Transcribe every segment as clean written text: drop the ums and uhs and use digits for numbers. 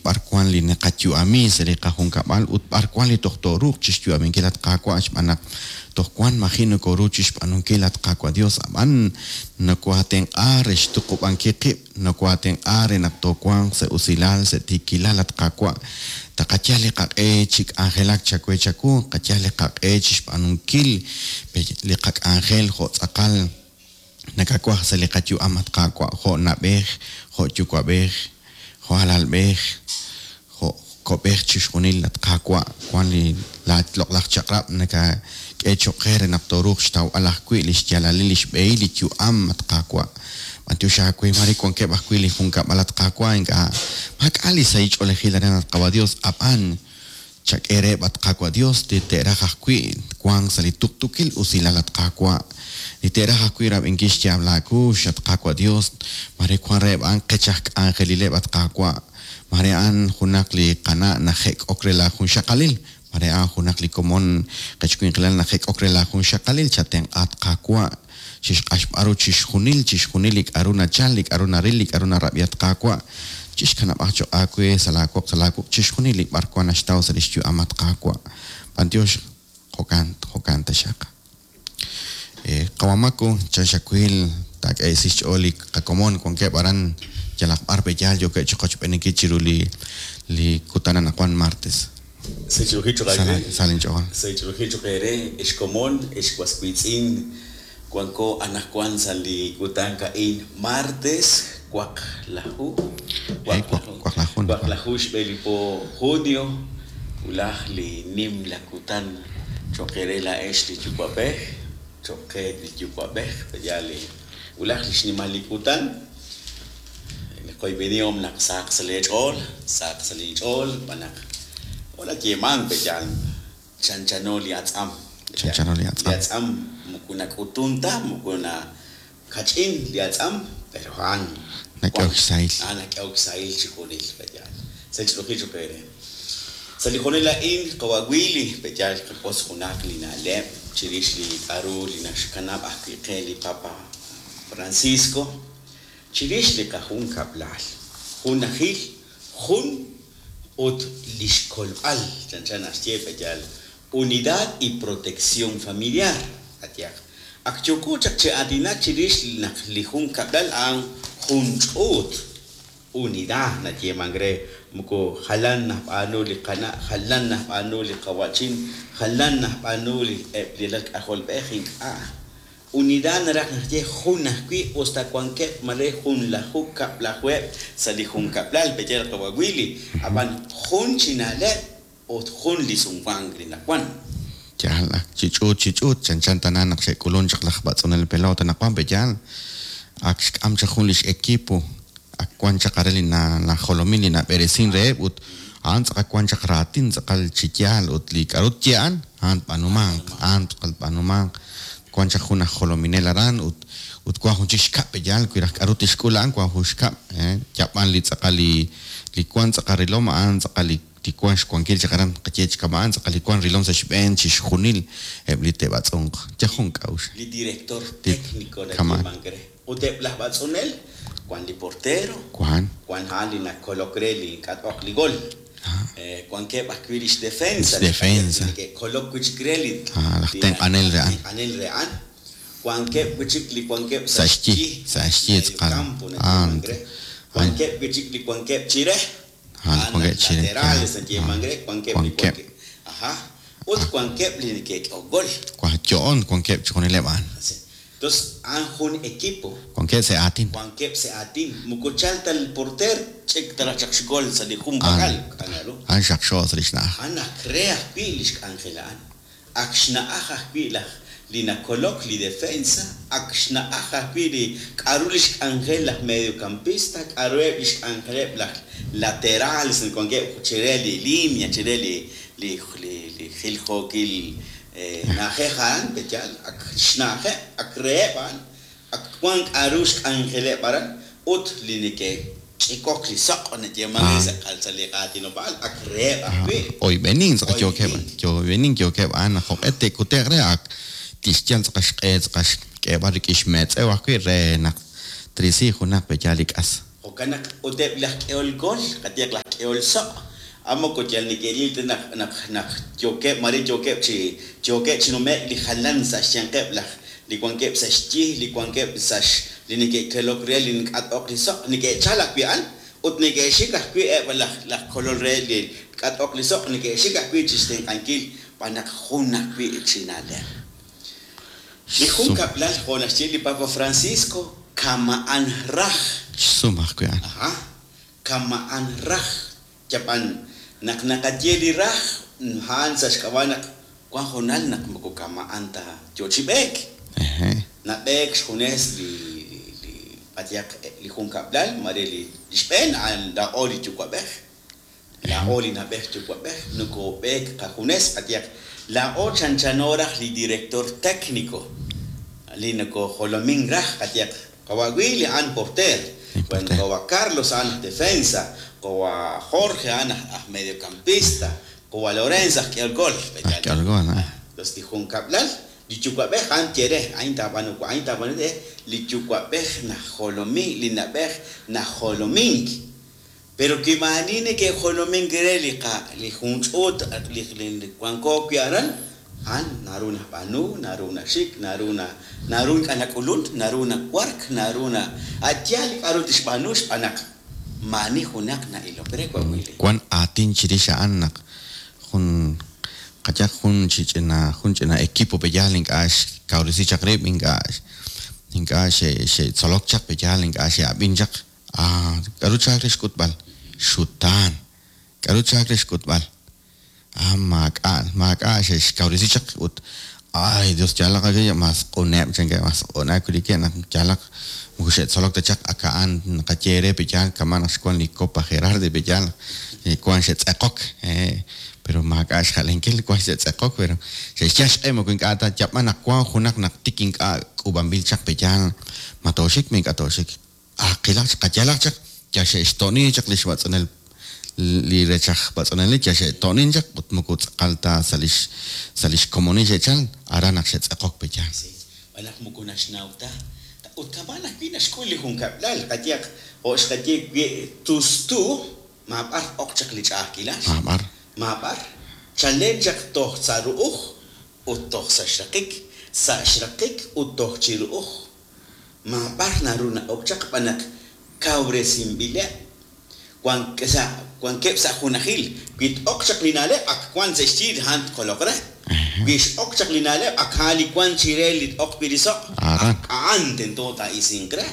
b'ar wan li naqayu'ami sa' li qajunkab'al ut b'ar wan li toj tooruuq chixyu'aminkil, at Qaawa', xb'aan naq toj wan maji' nokoru chixb'aanunkil, at Qaawa' Dios, ab'an nokohaatenq'a re xtuqub'ankil qib', nokohaatenq'a re naq toowanq sa' usilal, sa' tiikilal, at Qaawa'. Taqayal li qaq'e chi k'anjelak chawe chawu, qayal li qaq'e chixb'aanunkil li qak'anjel jo' tz'aqal nakawaj sa' li qayu'am, at Qaawa', jo' na'b'ej, jo' yuwa'b'ej, jo' alalb'ej, jo' ko'b'ej chixjunil, at Qaawa', wan li laa loq'laj chaq'rab' nakak'e choq' qe re naq tooruuq xtawb'al ajwi' lix yaalalil lix b'ehil li yu'am, at Qaawa'. B'antiox aawe, maare wankeb' ajwi' li junkab'al, at Qaawa', ink'a' maak'a' li sahil ch'oolejil aran, at Qaawa' Dios, ab'an chak'e reheb', at Qaawa' Dios, li te'raj ajwi' wank sa' li tuqtuukil usilal, at Qaawa', li te'raj ajwi' rab'inkil xyaab' laa kuux, at Qaawa' Dios, maare wan reheb' a'an qech aj k'anjelileb', at Qaawa', maare a'an junaq li qana' najek'ok re laa junxaqalil, maare a'an junaq li komon qech winqilal najek'ok re laa junxaqalil, chatenq'a, at Qaawa', chixq'axb'al ru chixjunil, chixjunil li k'a'ru nachal, li k'a'ru naril, li k'a'ru narab'i, at Qaawa', chixkanab'aq choq' aawe sa' laa woq, sa' laa wuq' chixjunil li b'arwan naxtaw sa' lix yu'am, at Qaawa'. B'antiox, jo'kan, jo'kan taxaq. Qawa' Maku, chan xawil taak'ehesi xch'ool li qakomon wankeb' aran yalaq b'ar pe yaal yookeb' chiqochb'eeninkil chiru li li kutan anaqwan martes. Sech'ruji choq' Sa' aawe. sa' linch'ool. Sech'ruji choq' eere, ex komon, ex was wiitz'in, wanko anaqwan sa' li kutan a'in martes waqlaju, waqlaju, Waqlaju. waqlaju xb'e li po junio, wulaj li nimla kutan choq' eere laa'ex li yuwa'b'ej, choq' qe li yuwa'b'ej, pe'yaal li wulaj li xnimal li kutan. Li qoyb'enihom naq sahaq sa' leech'ool, sahaq sa' linch'ool, xb'aan naq hola yeemank pe'yaal chanchano li atz'am. Chanchano li atz'am. Li atz'am moko nak'utun ta, moko nakach'in li atz'am, pero a'an Nak'ehok xsahil. A'an nak'ehok xsahil chixjunil pe'yaal. Sech'ruji choq' eere. Sa' li hoonal a'in, qawa' Willy, pe'yaal qawotz junaq li na'leb' chirix li k'a'ru li naxkanab' ajwi' qe li Papa Francisco chirix li qajunkab'lal, junajil, jun ut lix kolb'al, chanchan naxye pe'yaal unidad y protección familiar, qayehaq. Ak yooko chaq chi aatinak chirix naq li junkab'lal a'an jun ch'uut, unidad nayeemank re, moko jalan najb'aanu li qana', jalan najb'aanu li qawa'chin, jalan najb'aanu li eb' li alal k'ajolb'ej, ink'a'. Unidad naraj naxye jun ajwi' usta wankeb' mare junlaju kab'lajuheb' sa' li junkab'lal, pe'yaal qawa' Willy, ab'an jun chi na'leb' ut jun li sumwank li nawan. Yaal, ak chi ch'uut chi ch'uut, chanchan tana naq xe'k'ulunk chaq laj b'atz'unel pelota anaqwan pe'yaal, ak xk'am chaq jun lix equipo, ak wan chaq are li najolomin li nab'eresin reheb' ut a'an tz'aqal wan chaq raatin tz'aqal chi yaal ut li k'a'ru tye a'an, a'an tb'aanumanq, a'an tz'aqal tb'aanumanq. Wan chaq jun aj jolominel aran ut ut wan jun chik xkab' pe'yaal wi raj k'a'ru tixk'ul a'an wan jun xkab', yab'an li tz'aqal li li wan tz'aqal rilom a'an tz'aqal li li wan xwankil chaq aran qaye chi kama'an tz'aqal li wan rilom sa' xb'een chixjunil eb' li te'b'atz'unq. Yal jun k'a'uxl. Li director Li técnico kama'an. nayeemank re. Ut eb' laj b'atz'unel, wan li portero, Wan. wan a'an li nakolok re li ink'a' t-oq li gol. Wankeb' ajwi' lix defensa, Lix defensa. li neke'kolok wi' chik re li Ah, laj tenq'anel re a'an. tenq'anel re a'an. Wankeb' wi' chik li wankeb' Sa' xyi, sa' xyi medio tz'aqal. campo A'an. nayeemank re. Wankeb' wi' chik li wankeb' chire. A'an A'an wankeb' chire, laterales yaal. nayeemank re, wankeb' li Wankeb'. wankeb'. Ajá. Ut wankeb' li neke'k'ehok gol. Wa yo'on wankeb' chixjunileb' a'an. Entonces, a'an jun equipo. Wankeb' sa' aatin. Wankeb' sa' aatin. Moko chal ta el porter, ch'ik ta raj chaq xgol sa' li jun pakal, k'anaru. A'an xaqxo sa' lix na'aj. A'an ak re ajwi' lix k'anjel a'an. Ak xna'aj ajwi' laj li nakolok li defensa, ak xna'aj ajwi' li k'a'ru lix k'anjel laj mediocampista, k'a'ruheb' lix k'anjeleb' laj laterales wankeb' chire li línea, chire li li li li jiljookil na'ajej a'an, pe'yaal, ak xna'ajeb', ak reheb' a'an, ak wan k'a'ru xk'anjeleb' aran, ut li neke'ch'ikok li soq' nayeeman re sa' sa' li qaatinob'aal, ak reheb' ajwi'. Oyb'enin tz'aqal yookeb', Oyb'enin. oyb'enin yookeb' a'an naq jo'q'e te'kute'q re ak tixyal tz'aqal xq'e tz'aqal xk'eeb'al rik'in xmetz'ew ajwi' re naq trisi junaq pe'yaal li k'as. Jo'kan naq ut eb' laj k'ehol gol, qayehaq laj k'ehol soq', a moko yal neke'ril ta naq naq naq yookeb' mare yookeb' chi yookeb' chi nume'k li jalan sa' xyanqeb' laj li wankeb' sa' xyi, li wankeb' sa' li neke'kelok re li nk'at'oq li soq', neke'chal ajwi' a'an ut neke'xik ajwi' eb' laj laj kolol re li k'at'oq li soq' neke'xik ajwi' chixtenq'ankil xb'aan naq jun ajwi' chi na'leb'. Li junkab'lal jo' naxye li Papa Francisco kama'an raj. Xsum ajwi' a'an. Ajá, kama'an raj. Yab'an naq naqaye li raj, a'an sa' xk'ab'a' naq wan hoonal naq moko kama'an ta yo chi b'eek. Nab'eek xjunes li li qayehaq li junkab'lal mare li xb'een a'an laa'o li yuwa'b'ej. Laa'o li na'b'ej yuwa'b'ej nokob'eek qajunes, qayehaq, laa'o chanchano raj li director técnico li nokojolomin raj, qayehaq, qawa' Willy a'an porter, wan qawa' Carlos a'an aj defensa, qawa' Jorge a'an aj mediocampista, qawa' Lorenzo aj k'ehol gol. Aj k'ehol gol, ah. Entonces li junkab'lal, li yuwa'b'ej a'an tye re, a'in taab'aanu wa', a'in taab'aanu re, li yuwa'b'ej najolomi, li na'b'ej najolomink. Pero wi maa'ani neke'jolomink re li qa li jun ch'uut li li wanko wi' aran, a'an naru nab'aanu, naru naxik, naru na naru ink'a' nak'ulun, naru nawark, naru na a' yaal li k'a'ru tixb'aanu xb'aan naq maa'ani junaq na'ilok re wan wi' li. Wan aatin chirix a'an naq jun qayehaq jun chi ch'ina jun ch'ina equipo pe'yaal ink'a' xkawresi chaq rib', ink'a' ink'a' xe' xe'tzolok chaq pe'yaal ink'a' xe'ab'in chaq. Ah, k'aru chalk re xk'utb'al? Xutaan. K'aru chalk re xk'utb'al? Ah, maak'a', maak'a' xe'xkawresi chaq ut ay, Dios yaalaq aawe, mas q'uneb' chankeb', mas q'una kulikeb' naq yaalaq moko xe'tzolok ta chaq ak a'an naqaye eere pe' yaal kama' naq xwank li Copa Gerardi pe' yaal wank xe'tz'eqok, pero maak'a' xja'lenkil wank xe'tz'eqok pero xe'xyal xq'e moko ink'a' ta yab'an naq wank junaq naq tik ink'a' k'uub'anb'il chaq pe' yaal ma tooxik ma ink'a' tooxik. Ah, qilaq chaq, qayalaq chaq, yal xe'xto'ni chaq lix b'atz'unel li rech aj b'atz'unelil, yal xe'to'nin chaq ut moko tz'aqal ta sa' lix sa' lix komonil xe'chal, aran naq xe'tz'eqok pe yaal. Sí, xb'aan naq moko naxnaw ta. Ut kama'an ajwi' naxk'ul li junkab'lal, qayehaq, jo' xqaye wi tustu, maab'ar ok chaq li ch'a'ajkilal. Maab'ar. Maab'ar. Chalen chaq toj sa' ru'uj ut toj sa' xraqik, sa' xraqik ut toj chi ru'uj. Maab'ar naru na'ok chaq b'an naq kawresinb'ileb', wankeb' sa' junajil. Wi t-oq chaq li na'leb' ak wank sa' xyi a'an tkoloq re. Wi x'ok chaq li na'leb' ak a'an li wank chire li t-oq wi' li soq', ak a'an tento taa'isinq re.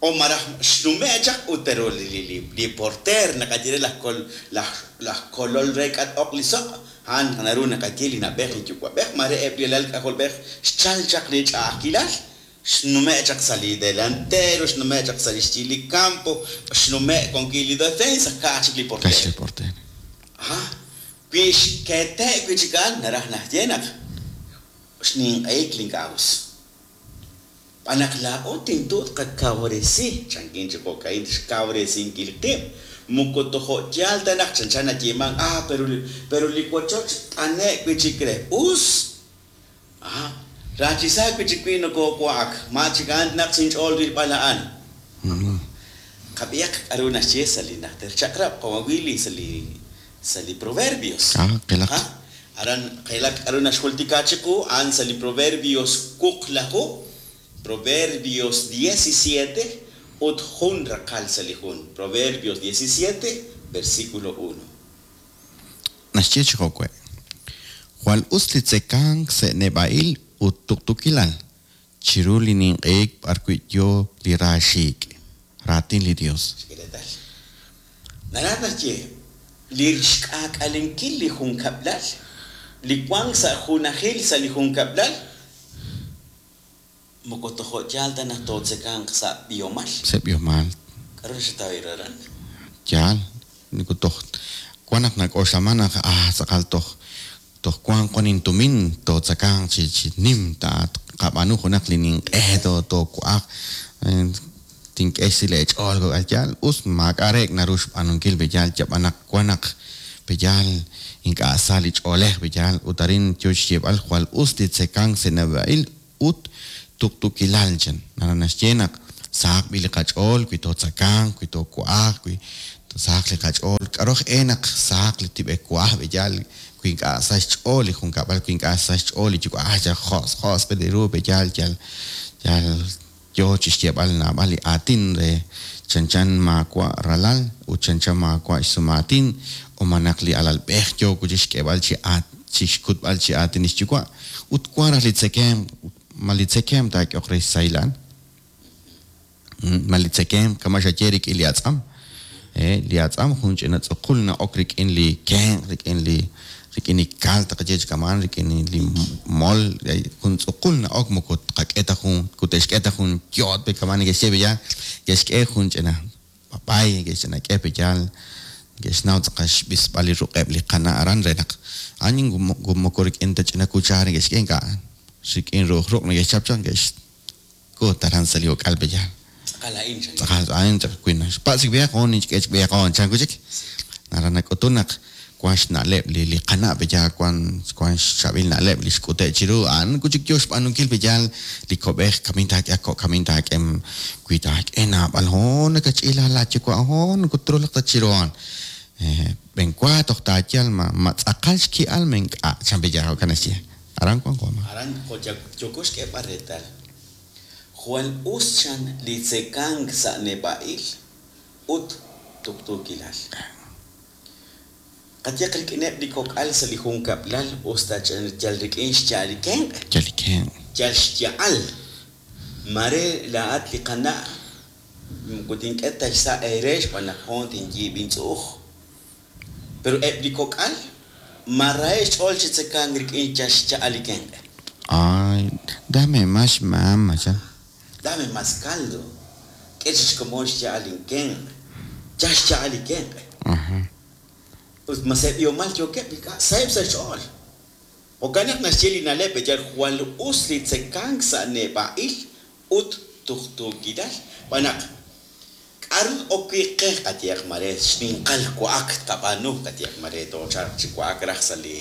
O malaj xnume' chaq ut pero li porteer naqaye re laj kolol re k'a t-oq li soq', a'an naru naqaye li na'b'ej li yuwa'b'ej, mare eb' li alal k'ajolb'ej xchal chaq li ch'a'ajkilal, xnume' chaq sa' li delantero, xnume' chaq sa' li xyi li campo, xnume' wan wi' li defensa, ka'aj chik li portero. Aha, wi xkete' wi' chik a'an, naraj naxye naq xninq'ehik li ink'a' us. Xb'aan naq laa'o tento tqakawresi, chankin chi jo'ka'in, xkawresinkil qib', moko tojo' yaal ta naq chanchan nayeemank, ah, pero, pero li wochoch t'ane'k wi' chik re. Us! Ah, raachisa wi' chik wi' nokoowa'ak, ma chik a'an tnaq sa' inch'ool rilb'al a'an. Qab'ihaq k'aru naxye sa' li Najter Chaq'rab', qawa' Willy, sa' li, sa' li Proverbios. Ah, qilaq. Ah, aran qilaq k'aru naxjultika chiqu, a'an sa' li Proverbios wuqlaju, Proverbios diecisiete, ut jun raqal sa' li jun, Proverbios diecisiete, versículo uno. Naxye chi jo'we', Jwal us li tzekank sa' neb'a'il ut tuqtuukilal, chiru li ninq'ehik b'arwi' yo li raaxiik'. Raatin li Yos. Xk'e reetal. Naraj naxye, li xk'aak'alenkil li junkab'lal, li wank sa' junajil sa' li junkab'lal, moko tojo' yaal ta naq tootzekanq sa' b'ihomal. Sa' b'ihomal. K'aru naxataw ru aran? Yaal, moko toj wan naq nak'oxlaman naq ah tz'aqal toj toj wanq wan intumin tootzakanq chi chi nim ta tqab'aanu junaq li ninq'e to toowa'aq tink'e xsahil eech'ool kok'al yaal us maak'a' reek' naru xb'aanunkil pe yaal yab'an naq wan naq pe yaal ink'a' sa li ch'oolej pe yaal ut arin yo xyeeb'al jwal us li tzekank sa' neb'a'il ut tuqtuukilal chan. Naraj naxye naq Sahaq b'i' li qach'ool wi tootzakanq, wi toowa'aq, wi sahaq li qach'ool. K'aru aj e naq sahaq li tib'elwa'aj b'eyal wi ink'a' sa xch'ool li junkab'al, wi ink'a' sa xch'ool li yuwa'aj yal josq' josq' li ru b'eyal yal yal yoo chi xyeeb'al naab'al li aatin re chanchan maawa' ralal ut chanchan maawa' xsumaatin o malaj li alalb'ej yoo wi' chi xk'eeb'al chi chi xkutb'al chi aatin li xyuwa' ut wank raj li tzekemq ma li tzekemq taak'ehoq re xsahil a'an? Ma li tzekemq kama' xaye rik'in li atz'am? Li atz'am jun ch'ina tz'uqul na'ok rik'in li kenq', rik'in li rik'in li kal taqaye chi kama'an, rik'in li mol, jun tz'uqul na'ok moko tqak'e ta jun, kute'xk'e ta jun yoot pe kama'an neke'xye pe yaal, ke'xk'e jun ch'ina b'ab'ay, neke'xch'ina k'e pe yaal, neke'xnaw tz'aqal xb'isb'al li ruq'eb' li qana' aran re naq a'an moko rik'in ta ch'ina kuchaar neke'xk'e ink'a', rik'in ru'uj ruq' neke'xchap chaq neke'x K'ut aran sa' li uk'al b'eyal. Tz'aqal a'in chan. Tz'aqal a'in chaq wi naxpatz' chik b'eyaq hoon ninchk'e chik b'eyaq hoon chan wi' chik. Aran nak'utun naq wan xna'leb' li li qana' b'eyal wan wan xchaab'il na'leb' li xk'ute' chiru a'an wi' chik yoo xb'aanunkil b'eyal li ko'b'ej kamin taak'e a ko' kamin taak'e wi taak'e naab'al hoon nakach'iila laayuwa' hoon moko trulaq ta chiru hoon. B'enwa toj taayal ma ma tz'aqal xki'al ma ink'a' chan b'eyal jo'kan naxye. Aran wank wa ma. Aran jo' yooko xk'eeb'al reetal, jwal us chan li tzekank sa' neb'a'il ut tuqtuukilal. Qayehaq rik'ineb' li kok'al sa' li junkab'lal us ta yal rik'in xya'al li kenq'. Yal li kenq'. Yal xya'al. Maare laa'at li qana' moko tink'e ta xsa' eere xb'aan naq hoon tinyiib' intz'u'uj. Pero eb' li kok'al ma raheb' xch'ool chi tzekank rik'in yal xcha'al li kenq'. Ay, dame más mama, chan. Dame más caldo. K'e chik xkomon xya'al linkenq'. Yal xcha'al li kenq'. Ut ma sa' b'ihomal yookeb' ink'a' saheb' sa' xch'ool. Jo'kan naq naxye li na'leb' yal jwal us li tzekank sa' neb'a'il ut tuqtuukilal. Xb'aan naq K'aru ok wi' qe qayehaq mare xninqal wa'ak tqab'aanu qayehaq mare toochalq chi wa'ak raj sa' li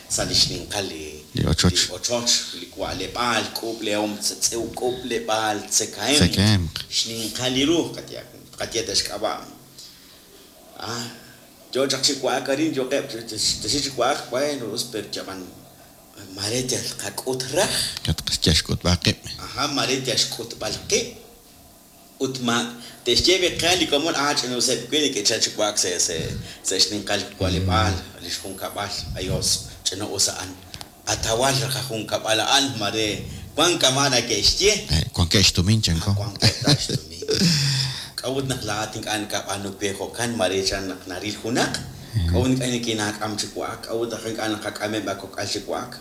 sa' li xninqal li Li ochoch. li ochoch, li wa'leb'aal, k'uub'lehom k'uub'leb'aal tzekahemq, Tzekahemq. xninqal li ru qayehaq tqaye ta xk'ab'a'. Ah, yo chaq chi wa'ak arin yoqeb' texik chi wa'ak, bueno us pero ab'an mare yal tqak'ut raj. Yal xk'utb'al qib'. Aja, mare yal xk'utb'al qib'. Ut ma te'xye b'i qe li komon, ah, ch'ina'useb' wi' neke'chal chi wa'ak sa' sa' sa' xninqal wa'leb'aal li xjunkab'al, ayos, ch'ina'us a'an. Qatawal raj qajunkab'al a'an, mare wan kama' nake'xye. Wankeb' xtumin, chanko. Wankeb' ta xtumin. K'a'ut naq laa'at ink'a' nakab'aanu we jo'kan, mare chan naq naril junaq? K'a'ut ink'a' nikinaak'am chi wa'ak? K'a'ut naq ink'a' naqak'ameb' aakok'al chi wa'ak?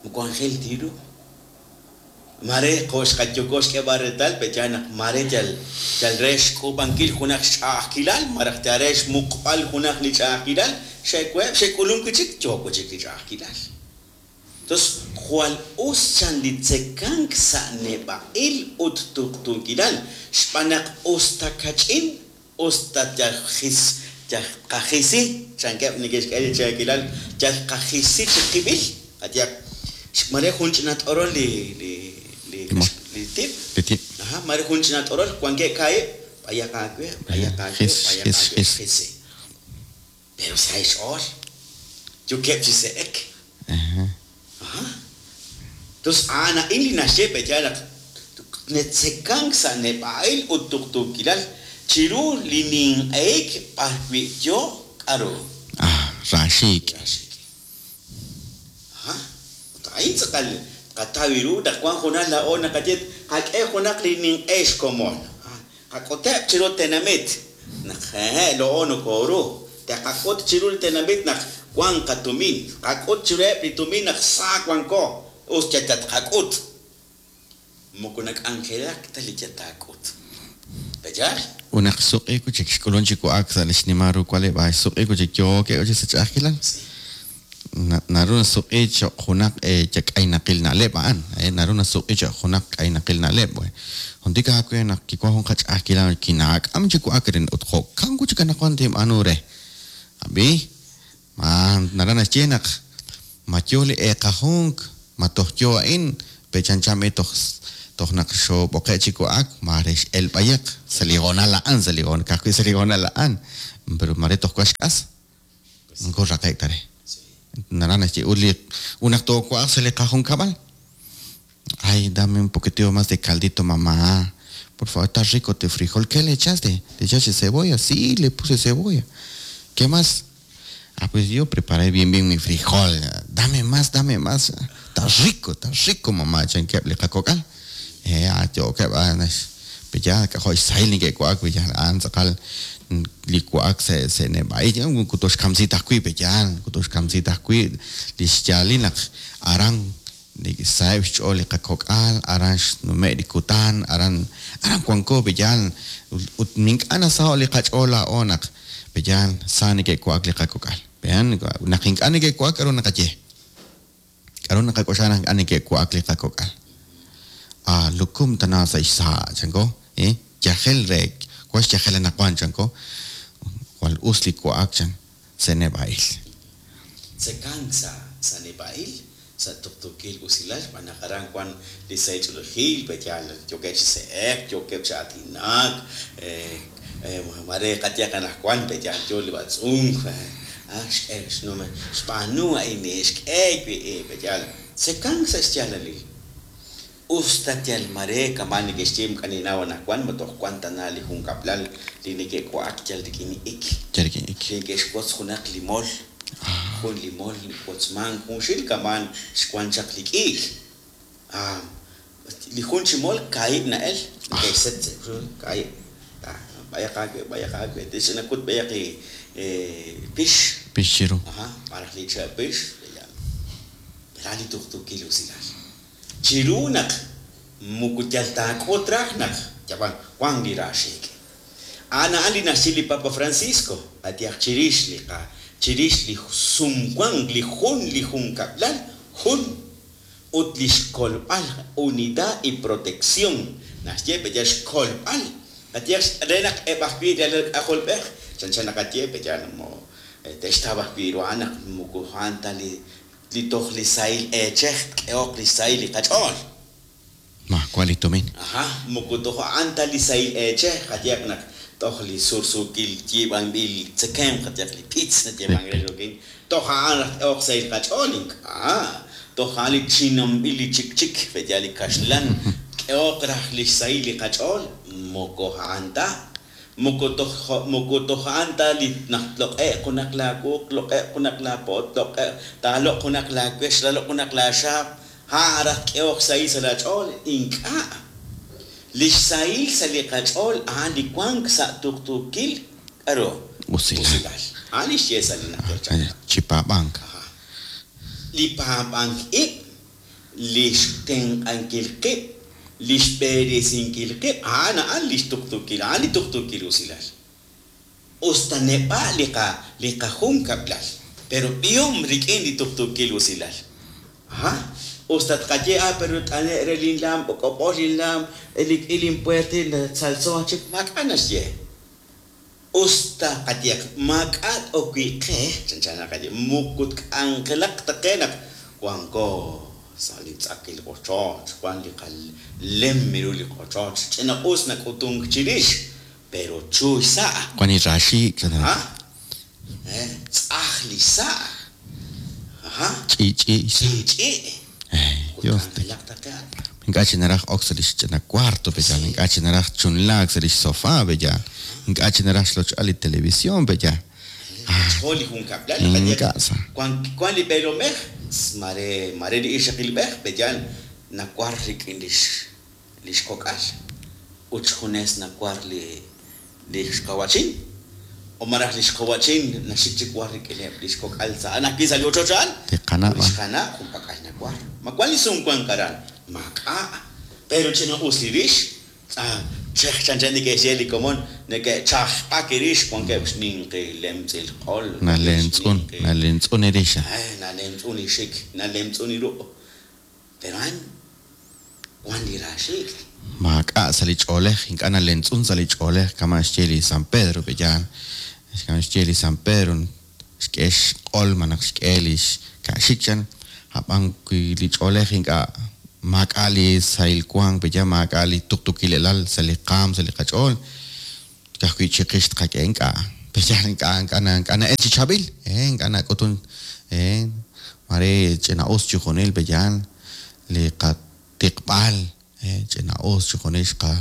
Moko anjel ti ru. Mare jo' xqayoko xk'eeb'al reetal pe'yaal naq mare yal yal re xk'uub'ankil junaq xch'a'ajkilal malaj yal re xmuqb'al junaq li ch'a'ajkilal, xe'weheb' xe'k'ulunk wi' chik, yook wi' chik li ch'a'ajkilal. Tos jwal us chan li tzekank sa' neb'a'il ut tuqtuukilal, xb'aan naq us ta kach'in, us ta yal jis yal tqajisi, chankeb' neke'xk'e li cheekilal, yal tqajisi chi qib'il, qayehaq, mare jun ch'ina t'orol li li li li tib'. Li tib'. Aja, mare jun ch'ina t'orol, wankeb' kaahib', b'ayaq aawe, b'ayaq aawe, Jis, b'ayaq jis, aawe, jis. jisi. Pero sa' xch'ool, yookeb' chi se'ek. Aja. Tos a'an a'in li naxye pe'yaal naq netzekank sa' neb'a'il ut tuqtuukilal chiru li ninq'ehik b'arwi' yo k'aru. Ah, raaxiik'. Raaxiik'. Aja. Ut a'in tz'aqal tqataw ru naq wank junaq laa'o naqaye qak'e junaq li ninq'e xkomon. Qak'uteb' chiru tenamit naq hehe' laa'o nokooru. Te'qak'ut chiru li tenamit naq wank qatumin. Qak'ut chiruheb' li tumin naq sa wanko. Us yal tatqak'ut. Moko nak'anjelak ta li yal taak'ut. Pe'yaal? Ut naq xsuq'i wi' chik xk'ulunk chi wa'ak sa' li xnimal ru wa'leb'aal, xsuq'i wi' chik yookeb' wi' chik sa' ch'a'ajkilal. Naru nasuq'i cho'q junaq k'aynaqil na'leb' a'an, naru nasuq'i cho'q junaq k'aynaqil na'leb'. Juntik aawe naq kiwank jun qach'a'ajkilal kinaak'am chi wa'ak arin ut jo'kan wi' chik anaqwan tinb'aanu re. Ab'i, ma naraj naxye naq ma yo li eeqajunk, ma toj yo a'in, pe chanchan b'i toj Toj naq xoob'oqe' chi wa'ak, maare x'el b'ayaq sa' li hoonal a'an, sa' li hoon, ka'ajwi' sa' li hoonal a'an, pero maare toj wan xk'as. Moko raqe'k ta re. Naraj naxye, ut li, ut naq toowa'aq sa' li qajunkab'al, ay, dame un poquitito más de caldito, mamá. Por favor, está rico tu frijol. ¿Qué le echaste? ¿Le echaste cebolla? Sí, le puse cebolla. ¿Qué más? Ah, pues yo preparé bien, bien mi frijol. Dame más, dame más. Está rico, está rico, mamá. Chankeb' li qakok'al. Eh, ah, yookeb' ah, nax- peya k'ajo' xsahil neke'wa'ak, peya a'an tz'aqal li wa'ak sa' sa' neb'a'il. Moko toxkamsi ta ajwi', peya, moko toxkamsi ta ajwi' li xyaalil naq aran saheb' xch'ool li qakok'al, aran xnume' li kutan, aran aran wanko, peyaal, ut ink'a' nasaho' li qach'ool laa'o naq peyaal sa neke'wa'ak li qakok'al. Peyan, naq ink'a' neke'wa'ak, k'a'ru naqaye? K'a'ru naqak'oxla naq ink'a' neke'wa'ak li qakok'al? Ah, lukum tana sa' xsa', chanko, eh, yajel re, wan xyajel anaqwan, chanko, jwal us li wa'ak, chan, sa' neb'a'il. Tzekank sa' sa' neb'a'il, sa' tuqtuukil usilal, xb'aan naq aran wan li sahil ch'oolejil, pe'yaal yookeb' chi se'ek, yookeb' chi aatinak, mare qayehaq anaqwan pe'yaal yoo li b'atz'unk, ah, xk'e xnume, xb'aanu a'in, xk'e wi', pe'yaal tzekank sa' xyaalalil. Us ta yal mare kama' neke'xye ink'a' ninnaw anaqwan ma toj wan tana li junkab'lal li neke'wa'ak yal rik'in ik. Yal rik'in ik. Li neke'xwotz junaq li mol, jun li mol wotzmank junxil kamaan xwan chaq li k'iik. Ah, li jun chi mol kaahib' na'el, neke'xset sa' kaahib'. Ah, b'ayaq aawe, b'ayaq aawe, te'xch'inakut b'ayaq li pix. Pix chiru. Ajá, malaj li che' pix, ra li tuqtuukil usilal. Chiru naq moko yal taak'ut raj naq yab'an wan li raaxiik'. A'an a'an li naxye li Papa Francisco, qayehaq chirix li qa, chirix li sumwank, li jun li junkab'lal jun, ut li xkolb'al, unidad y protección, naxye pe yal xkolb'al, qayehaq re naq eb' ajwi' li alal k'ajolb'ej, chanchan naqaye pe yal mo te'xtaw ajwi' ru a'an naq moko a'an ta li li toj li sahil eechej tk'ehoq li xsahil li qach'ool. Maawa' li tumin. Ajá, moko toj a'an ta li sahil eechej, qayehaq naq toj li sursuukil yiib'anb'il tzekemq, qayehaq li pizza nayeemank re rik'in, toj a'an raj tk'ehoq sahil qach'ool, ink'a', toj a'an li chinamb'il li chikchik, pe'yaal li kaxlan, tk'ehoq raj li xsahil li qach'ool, moko a'an ta. Moko toj moko toj a'an ta li naq tloq'e'q junaq laawuq, tloq'e'q junaq laapo', tloq'e'q, taaloq' junaq laawex, taaloq' junaq laaxaab', a'an raj tk'ehoq xsahil sa' laach'ool, ink'a'. Li xsahil sa' li qach'ool a'an li wank sa' tuqtuukil, k'a'ru? Usilal. A'an li xye sa' li najter chaq'rab'. Chi paab'ank. Ajá. Li paab'ank ib', li xtenq'ankil qib', li xb'eresinkil qib', a'an a'an li xtuqtuukil, a'an li tuqtuukil usilal. Us ta neb'a' li qa, li qajunkab'lal, pero b'ihom rik'in li tuqtuukil usilal. Ajá. Us ta tqaye, ah, pero t'ane' re linlaam, b'ok'ob'ol linlaam, elik'il linpuertil, tzaltzo chik, maak'a' naxye. Us ta qayehaq maak'a' t'ok wi' qe, chanchan naqaye, moko tk'anjelaq ta qe naq wanko sa' li tz'akil ochoch, wan li qalem ru li qochoch, ch'ina-us nak'utunk chirix, pero chu xsa'. Wan li raaxiik', Ajá. Eh, tz'aj li xsa'. Ajá. Ch'i'ch'i' xsa'. Ch'i'ch'i'. Eh, Dios te K'anjelaq ta qe a'an. Ink'a' chi naraj ok sa' li xch'ina cuarto, pe'yaal. Ink'a' chi naraj chunlaak sa' li xsofá, pe'yaal. Ink'a' chi naraj xloch'al li televisión, pe'yaal. Xjool li junkab'lal, qayehaq, Ink'a' sa. wan wan li b'eelomej, mare mare li ixaqilb'ej, pe'yaal nawar rik'in lix li xkok'al ut xjunes nawar li li xqawa'chin, o malaj li xqawa'chin naxik chi war rik'ineb' li xkok'al sa' a'an ajwi' sa' li ochoch a'an, Li qana' ut li xqana' junpak'al nawar. Ma wan li sumwank aran? Maak'a'. Pero ch'ina-us li rix, ah, chej chanchan neke'xye li komon, neke'chajb'ak rix, wankeb' xninqi lemtz'il q'ol, wankeb' Nalemtz'un, xninqi nalemtz'un li rix. Eh, nalemtz'un li xik, nalemtz'un li ruq'. Pero a'an wan li raaxiik'. Maak'a' sa' li ch'oolej, ink'a' nalemtz'un sa' li ch'oolej, kama' xye li San Pedro, pe'yaal. Kama' xye li San Pedro, xk'e xq'ol malaj xk'e li xka'xik chan, ab'an wi li ch'oolej ink'a' Maak'a' li sahil wank, pe'yaal maak'a' li tuqtuukilal sa' li qaam, sa' li qach'ool. Ka'ajwi' chiqix tqak'e ink'a'. Pe'yaal ink'a' ink'a' ink'a' na'el chi chaab'il, ink'a' nak'utun, mare ch'ina'us chixjunil pe'yaal li qatiqb'al, ch'ina'us chixjunil xqa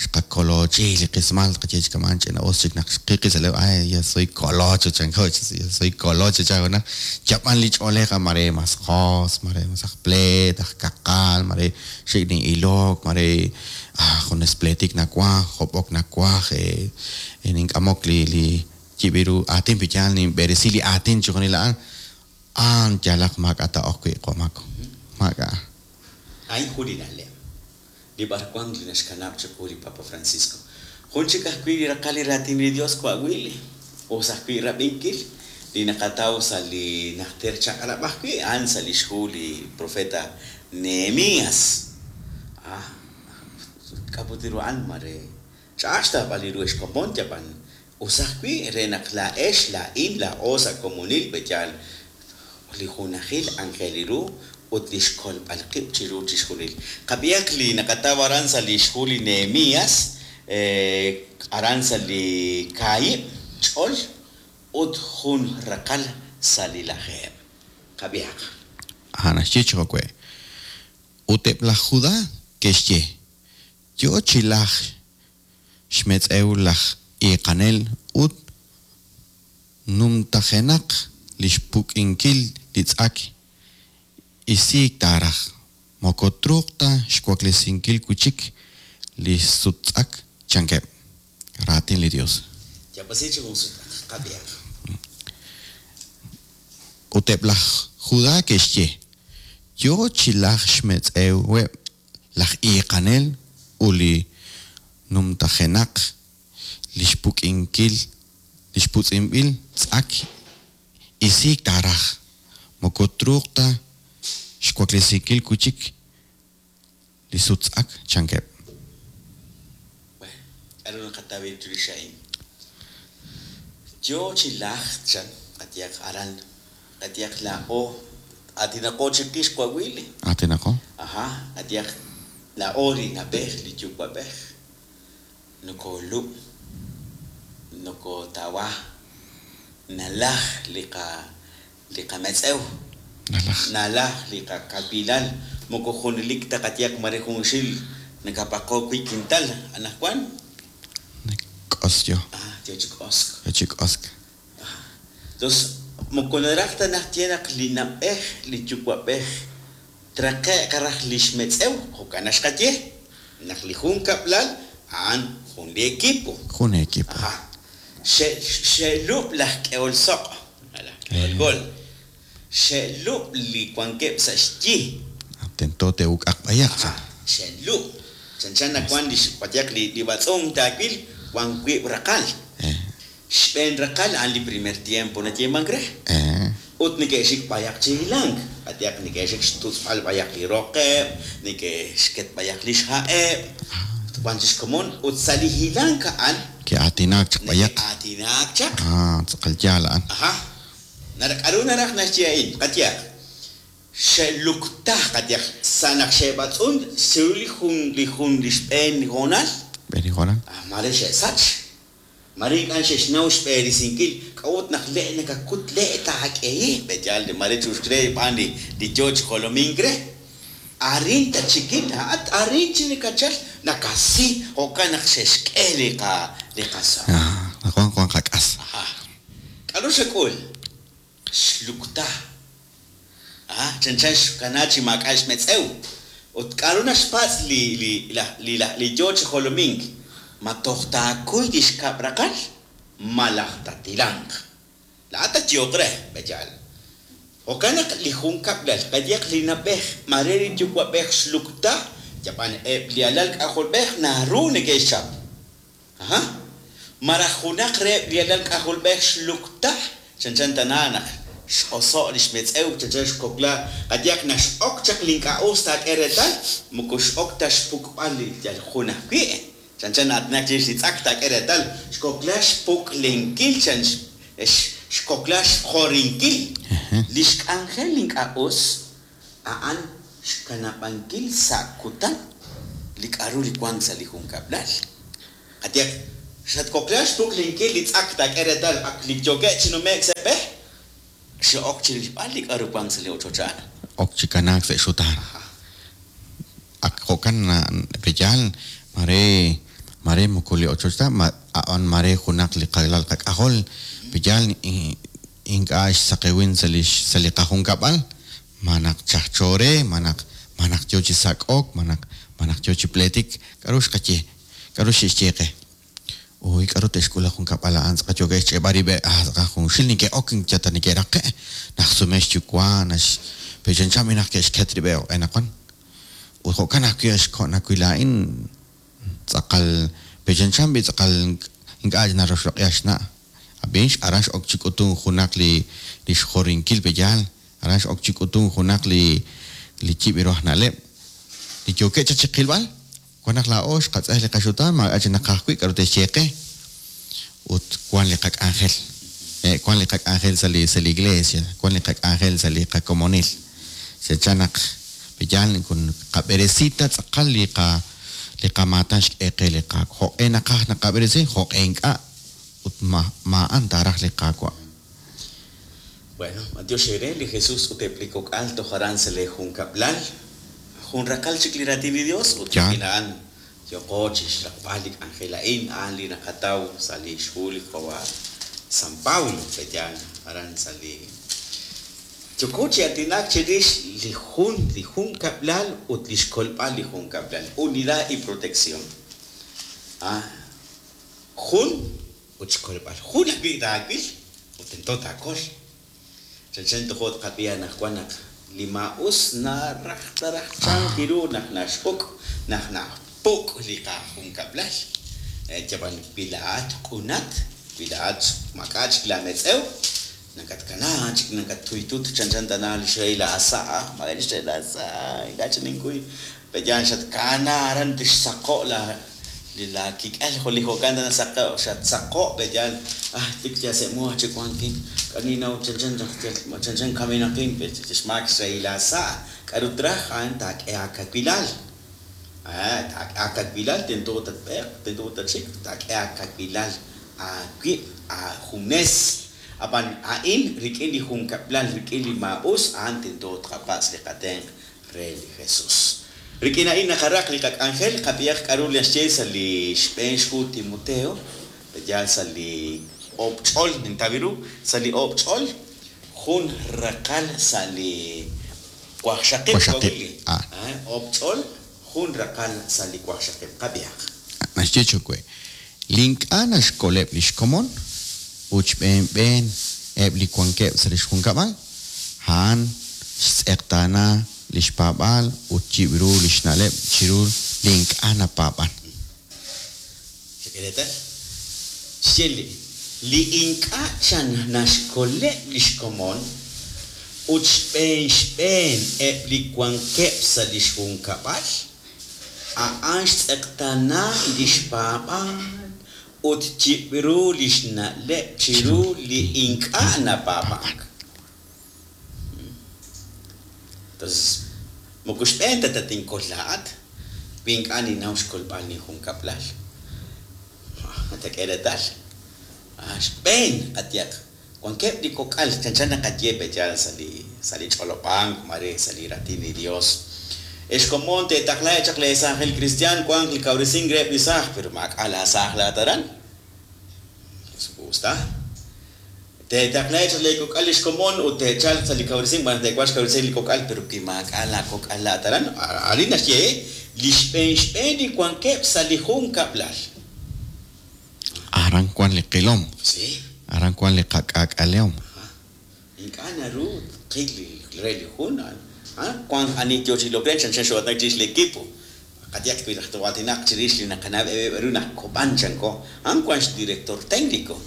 xqakolochi li qismal tqaye chi kama'an ch'ina'us chik naq xqiqi sa' ay ya soy colocho chanko, ya soy colocho chan junaq. Yab'an li ch'oolej mare mas jos, mare mas aj pleet, aj kaqal, mare xik' nin'ilok, mare junes pleetik nawaj, job'ok nawaj, nink'amok li li yib' ru aatin pe'yaal ninb'eresi li aatin chixjunil a'an, a'an yalaq maak'a' taa'ok wi' Qomako, maak'a'. A'in jun li na'leb' li b'arwan li naxkanab' chiqu li Papa Francisco. Jun chik ajwi' li raqal li raatin li Dios wa'wil, us ajwi' rab'inkil li naqataw sa' li najter chaq'rab' ajwi', a'an sa' lix hu li profeta Nehemías. K'a'ut ru a'an mare ch'a'aj xtawb'al li ru xkomon yab'an us ajwi' re naq laa'ex, laa'in, laa'o sa' komonil pe'yaal li junajil anjel li ru ut li xkolb'al qib' chiru chixjunil. Qab'ihaq li naqataw aran sa' lix hu li Nehemías, aran sa' li kaahib' ch'ol ut jun raqal sa' li lajeeb'. Qab'ihaq. A'an naxye chi jo'we'. Ut eb' laj Judá ke'xye, Yo chi lajk xmetz'ew laj iiqanel ut numtajenaq li xpuk'inkil li tz'ak isiik taaraj, moko truuq ta xwaklesinkil wi' chik li suttz'ak, chankeb'. Raatin li Yos. Yaab'asi chi jun sutaq. Qab'ihaq. Ut eb' laj Judá ke'xye, Yo chi lajk xmetz'eweb' laj iiqanel ut li numtajenaq li xpuk'inkil li xputz'inb'il tz'ak isiik taaraj, moko truuq ta xwaklesinkil wi' chik li suttz'ak, chankeb'. Bueno, k'aru naqataw chirix a'in? Yo chi lajk chan qayehaq aran, qayehaq laa'o aatinaqo chiqix wa'wil. Aatinaqo. Ajá, qayehaq laa'o li na'b'ej, li yuwa'b'ej, nokoolub', nokootawa, nalaj li qa li qametz'ew, Nalaj. nalaj li qakawilal, moko junelik ta qayehaq mare junxil nakapaqo wi' kintal, anaqwan K'os yo. Yo chi k'osk. Yo chi k'osk. Entonces, moko naraj ta naxye naq li na'b'ej, li yuwa'b'ej traqe'q raj li xmetz'ew, jo'kan naxqaye, naq li junkab'lal a'an jun li equipo. Jun equipo. Ajá. Xe'lub' laj k'ehol soq', laj k'ehol gol. Xe'lub' li wankeb' sa' xyi. Tento te'uk'aq b'ayaq chan. Xe'lub'. Chanchan nawank li xpayaq li b'atz'unk taawil wan wiib' raqal. Xb'een raqal a'an li primer tiempo nayeemank re. Ut neke'xik b'ayaq chi hilank. Qayehaq neke'xik xtutz'b'al b'ayaq li roqeb', neke'xket b'ayaq li xha'eb', wan chi xkomon. Ut sa' li hilank a'an Ke'aatinaak chaq b'ayaq. Neke'aatinaak chaq. Tz'aqal yaal a'an. Ajá. K'aru naraj naxye a'in? Qayehaq xe'lukta qayehaq sa' naq xe'b'atz'un chiru li jun li jun li xb'een hoonal. Xb'een hoonal. Mare xe'sach. Mare ink'a' xe'xnaw xb'eresinkil k'a'ut naq le' nakakut le' taak'ehi pe'yaal mare chuxk re xb'aan li li yo chi jolomink re. Arin tatxikil laa'at arin chi nakachal nakasi jo'kan naq xe'xk'e li qa li qasoq. Wan wan qak'as. Ajá. K'aru xak'ul? Xlukta. Chanchan xkana chi maak'a' xmetz'ew. Ut k'aru naxpatz' li li li li yo chi jolomink? Ma toj taakuy li xkab' raqal malaj tatilanq. Laa'at tatyo'q re, pe'yaal. Jo'kan naq li junkab'lal, qayehaq li na'b'ej, mare li yuwa'b'ej xlukta, yab'an eb' li alal k'ajolb'ej naru neke'xchap. Ajá. Malaj junaq reheb' li alal k'ajolb'ej xlukta, chanchan tana naq x'oso' li xmetz'ew, chanchan xkokla, qayehaq naq x'ok chaq li ink'a' us taak'e reetal, moko x'ok ta xpuk'b'al li yal jun ajwi'. Chanchan na'aatinak chirix li tz'ak taak'e reetal, xkokla xpuk'lenkil, chan xkokla xjorinkil. Li xk'anjel li ink'a' us a'an Xkanab'ankil sa' kutan li k'a'ru li wank sa' li junkab'lal. Qayehaq, xatwokla xpuqlinkil li tz'ak taak'e reetal ak li yookeb' chi nume'k sa' b'e, xe'ok chirilb'al li k'a'ru wank sa' li ochoch a'an. Ok chi kanaak sa' xutaan. Ak jo'kan pe'yaal mare mare moko li ochoch ta, a'an mare junaq li qalal qak'ajol, pe'yaal ink'a' xsaqewin sa' li sa' li qajunkab'al, ma naq chajcho re, ma naq ma naq yo chi sak'ok, ma naq ma naq yo chi pleetik, k'a'ru xqaye, k'a'ru xe'xye qe. Uy, k'a'ru te'xk'ul li junkab'al a'an tz'aqal yookeb' xch'e'b'al rib'eb', ah tz'aqal junxil neke'ok yal ta neke'raqe', naxsume xyuwa', nax pe chanchan b'i naq ke'xket rib'eb' jo'q'e naqwan. Ut jo'kan ajwi' xko' nawil laa'in tz'aqal pe chanchan b'i tz'aqal ink'a' naroxloq'i xna'. Ab'in aran x'ok chi k'utun junaq li li xjorinkil pe'yaal, aran x'ok chi k'utun junaq li li yib' ru aj na'leb'. Li yookeb' chaq chiqilb'al, wan naq laa'o xqatz'ej li qaxutaan maak'a' chik naqaj wi' k'a'ru te'xye qe. Ut wan li qak'anjel. Wan li qak'anjel sa' li sa' li iglesia, wan li qak'anjel sa' li qakomonil. Chanchan naq pe'yaal qab'eresi ta tz'aqal li qa li qamaatan xk'e qe li Qaawa'. Jo'q'e naqaj naqab'eresi, jo'q'e ink'a' ut ma ma'an taaraj li Qaawa'. Bueno, b'antiox eere li Jesús ut eb' li kok'al toj aran sa' lee junkab'lal. Jun raqal chik li raatin li Dios ut rik'in a'an yooqo chixraqb'al li k'anjel a'in, a'an li naqataw sa' li xhu li qawa' San Pablo, pe'yaal aran sa' li yooko chi aatinak chirix li jun li junkab'lal ut li xkolb'al li junkab'lal, unidad y protección. Ah, jun ut xkolb'al. Jun ajwi' taawil ut tento taakol. Chanchan tojo' tqab'i anaqwan naq li maa'us naraj taraj chan ru naq naxjuk' naq napuk' li qajunkab'lal. Yab'an wi laa'at q'unat, wi laa'at maak'a' chik laametz'ew, nakatkana chik nakattuytut chanchan tana li xrey la sa', mare li xrey la sa', ink'a' chik ninkuy. Pe'yaal xatkana aran tixsaqo' la li laakik'el jo' li jo'kan tana saqo' xatsaqo' pe'yaal ah tik yal sa' mu chik wankin k'a' ninnaw chanchan naq yal chanchan kamenaqin xmaak xrey la sa', k'a'ru traj a'an taak'e aakawilal. Taak'e aakawilal tento tatb'eeq, tento tatxik, taak'e aakawilal aawib' aajunes. Ab'an a'in rik'in li junkab'lal, rik'in li maa'us, a'an tento tqapatz' li qatenq' re li Jesús. Rik'in a'in naqaraq li qak'anjel, qab'ihaq k'a'ru naxye sa' li xb'een xhu Timoteo, pe'yaal sa' li oob' ch'ol, nintaw ru, sa' li oob' ch'ol, jun raqal sa' li waqxaqib' Waqxaqib', Willy. ah. Oob' ch'ol, jun raqal sa' li waqxaqib', qab'ihaq. Naxye chowe, li ink'a' naxkoleb' li xkomon ut xb'een b'een eb' li wankeb' sa' li xjunkab'al, a'an xtz'eqtaana li xpaab'aal ut yib' ru li xna'leb' chiru li ink'a' napaab'an. Xak'e reetal? Xye li li ink'a' chan naxkoleb' li xkomon ut xb'een xb'een eb' li wankeb' sa' li xjunkab'al, a'an xtz'eqtaana li xpaab'aal ut yib' ru li xna'leb' chiru li ink'a' napaab'ank. Entonces, moko xb'een ta tatinkol laa'at, wi ink'a' ninnaw xkolb'al linjunkab'lal. Matak'e reetal. Xb'een qayehaq, wankeb' li kok'al chanchan naqaye pe'yaal sa' li sa' li ch'olob'ank mare sa' li raatin li Dios. Ex komon teetaqlaheb' chaq lee saajil cristian wanq li kawresink reheb' li saaj, pero maak'a' laasaaj laa'at aran. Usta. Teetaqlaheb' chaq lee kok'al li xkomon ut te'chalq sa' li kawresink, b'an te'wanq xkawresink li kok'al, pero wi maak'a' laakok'al laa'at aran, arin naxye li xb'een xb'een li wankeb' sa' li junkab'lal. Aran wan li qilom. Sí. Aran wan li qak'aak'alehom. Ink'a' naru tqil li re li jun, wank ani yo chi ilok re chanchan xo'aatinak chirix li equipo. Qayehaq wi raj too'aatinaq chirix li naqanab' eb' ru naq Kob'an chanko, a'an wank xdirector técnico.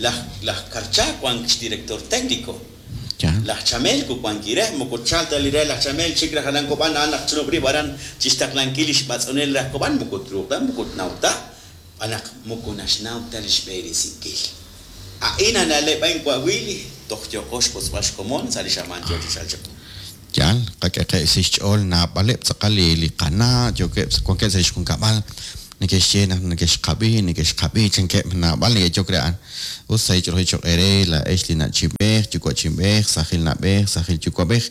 Laj laj Karcha wank xdirector técnico. Laj Chamelko wank ire, moko tchalk ta li re laj Chamel chik raj aran Kob'an, a'an naq tchunub' rib' aran chixtaqlankil li xb'atz'unel raj Kob'an, moko truuq ta, moko tnaw ta, b'an naq moko naxnaw ta li xb'eresinkil. A'in a na'leb' a'in wa' Willy, toj yooqo xwotzb'al xkomon sa' li xamaan yo chi chalk chiqu. Yaal, qak'e qe xch'ool naab'aleb' tz'aqal li li qana' yookeb' wankeb' sa' lix junkab'al neke'xye naq neke'xqab'i neke'xqab'i chankeb' naab'al neke'yok re a'an. Us sa' ich'oolej choq' eere laa'ex li na'chinb'ej, yuwa'chinb'ej, sajil na'b'ej, sajil yuwa'b'ej.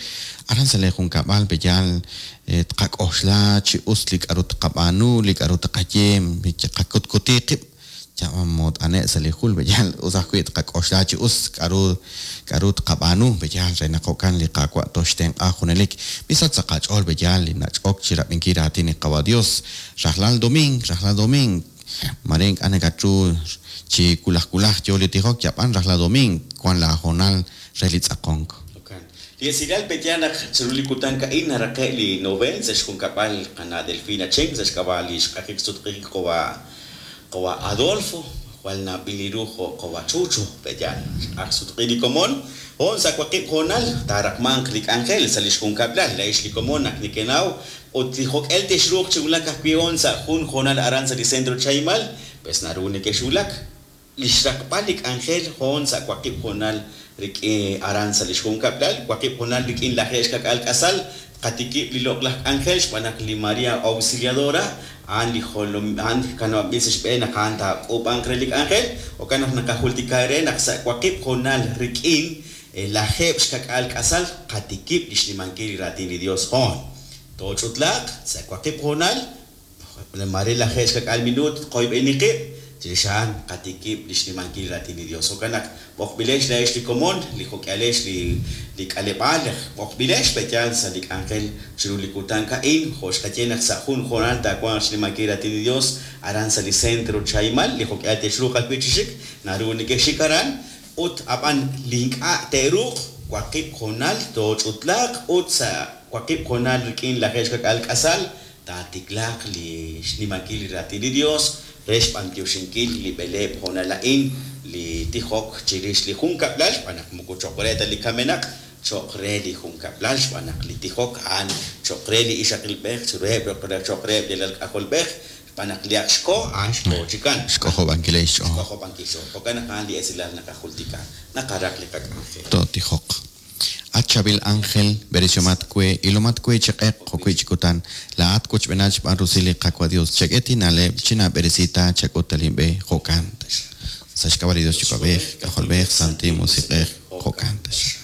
Aran sa' lee junkab'al pe'yaal tqak'oxla chi us li k'a'ru tqab'aanu, li k'a'ru tqaye, qakutkuti qib' mot'ane' sa' li jul pe'yaal us ajwi' tqak'oxla chi us k'a'ru k'a'ru tqab'aanu pe'yaal re naq jo'kan li Qaawa' toxtenq'a junelik. Misach sa' qach'ool pe'yaal li nach'ok chi rab'inkil raatin li Qawa' Dios. Rajlal domiing, rajlal domiing, mare ink'a' nakatru chi wulaj wulaj yo li tijok yab'an rajlal domiing wan la hoonal re li tz'aqonk. Jo'kan. Li esilal pe'yaal naq chiru li kutan a'in naraqe' li noveen sa' xjunkab'al qana' Delfina Chen sa' xk'ab'a' li xq'ajik sutq'ijik qawa' qawa' Adolfo, jwal nab'il li ru jo' qawa' Chucho, pe'yaal. Xq'aj sutq'i li komon, hoon sa' waqib' hoonal taaraqmanq li k'anjel sa' li xjunkab'lal laa'ex li komon naq nekenaw ut li jok'el texruuq chi wulak ajwi' hoon sa' jun hoonal aran sa' li centro Chahimal, pues naru nekexwulak. Li xraqb'al li k'anjel hoon sa' waqib' hoonal rik'in aran sa' li xjunkab'lal, waqib' hoonal rik'in lajeeb' xka'k'aal k'asal, tqatikib' li loq'laj k'anjel xb'aan naq li Maria Auxiliadora a'an li jolom a'an kanab'anb'il sa' xb'een naq a'an taak'uub'anq re li k'anjel, jo'kan naq naqajultika eere naq sa' waqib' hoonal rik'in lajeeb' xka'k'aal k'asal qatikib' li xnimankil li raatin li Dios hoon. Tooch'utlaaq sa' waqib' hoonal, mare lajeeb' xka'k'aal minuut tqoyb'eni qib', chirix a'an qatikib' li xnimankil li raatin li Dios. Jo'kan naq b'oqb'ilex laa'ex li komon, li jok'ihalex li li k'aleb'aal, b'oqb'ilex pe'yaal sa' li k'anjel chiru li kutan a'in, jo' xqaye naq sa' jun hoonal taawanq xnimankil raatin li Dios aran sa' li centro Chahimal, li jok'ihal texruuq ajwi' chi xik, naru nekexxik aran, ut ab'an li ink'a' te'ruuq waqib' hoonal tooch'utlaaq ut sa' waqib' hoonal rik'in lajeeb' xka'k'aal k'asal taatiklaaq li xnimankil li raatin li Dios re xb'antioxinkil li b'eleeb' hoonal a'in li tijok chirix li junkab'lal xb'aan naq moko cho'q re ta li kamenaq, cho'q re li junkab'lal xb'aan naq li tijok a'an cho'q re li ixaqilb'ej, chiruheb' cho'q reheb' li alal k'ajolb'ej xb'aan naq li ak xko a'an xko chikan. Xk'ojob'ankil xch'ool. Xk'ojob'ankil xch'ool. Jo'kan naq a'an li esilal naqajultika, naqaraq li qak'anjel. Tootijoq. At chaab'il ángel, b'eresiomat we, ilomat we chi q'eq jo'wi' chi kutan, laa'at wochb'eenat xb'aan rusil li Qaawa' Dios, chak'e tina'leb' chinaab'eresi ta chak'ut ta linb'e, jo'kan taxaq. Sa' xk'ab'a' li Dios Yuwa'b'ej, K'ajolb'ej, Santil Musiq'ej, jo'kan taxaq.